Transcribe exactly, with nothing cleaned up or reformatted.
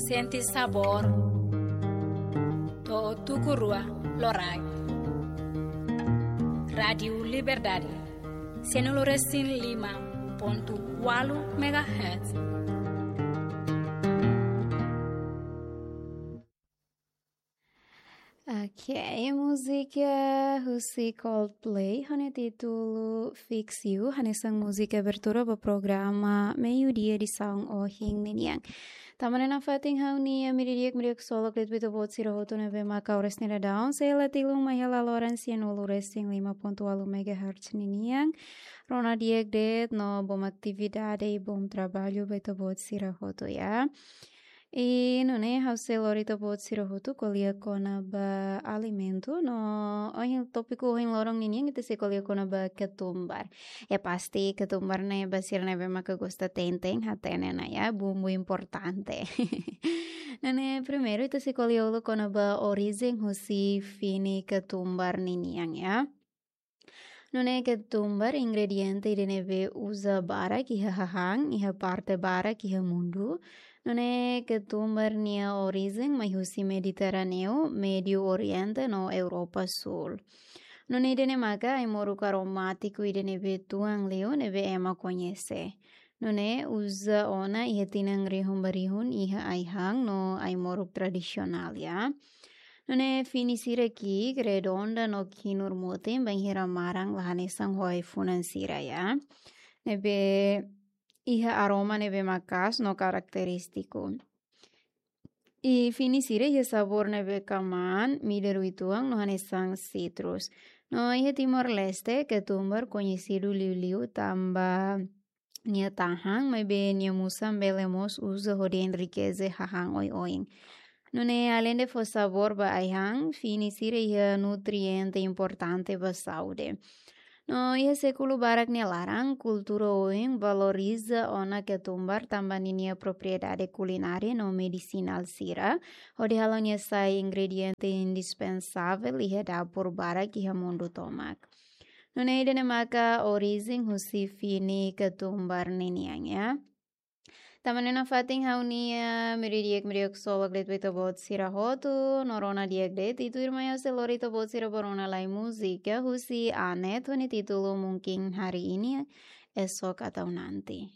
Sente sabór. To'o tuku rua loraik. Rádiu Liberdade. Sianulu-resin-lima pontu ualu megahertz. Ok, múzika husi Coldplay, ho nia títulu Fix You, hanesan múzika abertura ba programa Meiudia edisaun ohin ninian. Tanba ne'e nafatin ha'u-nia hamriik di'ak, hamriik ksolok de'it ba ita-boot sira hotu ne'ebé maka oras ne'e daudaun, sei la tilun mai hela loron sianulu-resin-lima pontu ualu megahertz ninian. Rona di'ak de'it no bom atividade i bom traballu ba ita-boot sira hotu, ya. I nune'e ha'u sei lori ita-boot sira hotu ko'alia kona-ba alimentu no ohin, tópiku ohin loron ninian ita sei ko'alia kona-ba ketumbar. Ya pasti ketumbar ne'e ba sira ne'ebé maka gosta tein-tein hatene ona, ya, bumbu importante. Nune'e primeiru ita sei ko'alia uluk kona-ba orijen husi fini ketumbar ninian, ya. Nune'e ketumbar ingrediente ida ne'ebé uza barak iha hahán, iha parte barak iha mundu. Nune'e ketumbar nia orijen mai husi Mediterráneu, Médio Oriente no Europa Sul. Nune'e ida-ne'e maka ai-moruk aromátiku ida ne'ebé tuan liu ne'ebé ema koñese. Nune'e uza ona iha tinan rihun ba rihun iha ai-han no ai-moruk tradisionál, ya. Nune'e fini sira ki'ik, redonda no kinur-mutin, bainhira maran la hanesan ho ai-funan sira, ya. Ne'ebé iha aroma ne'ebé maka'as no karakterístiku. I fini sira iha sabór ne'ebé kamaan, midar uitoan no hanesan sitrus. No iha Timor-Leste, ketumbar koñesidu liuliu tanba nia tahan, maibé nia musan bele mós uza hodi enrikese hahán oioin. Nune'e aleinde fó sabór ba ai-han, fini sira iha nutriente importante ba saúde. No iha sékulu barak nia laran, kultura oin valoriza ona ketumbar tanba ninia propriedade kulinária no medisinál sira, hodi halo nia sai ingrediente indispensável iha dapur barak iha mundu tomak. Nune'e ida-ne'e maka orijen husi fini ketumbar ninian, ya. Tanba ne'e nafatin ha'u-nia hamriik di'ak, hamriik ksolok de'it ba ita-boot sira hotu, no rona di'ak de'it, tuirmai ha'u sei lori ita-boot sira ba rona lai múzika husi Anet ho nia títulu Mungkin Hari Ini, Esok Atau Nanti.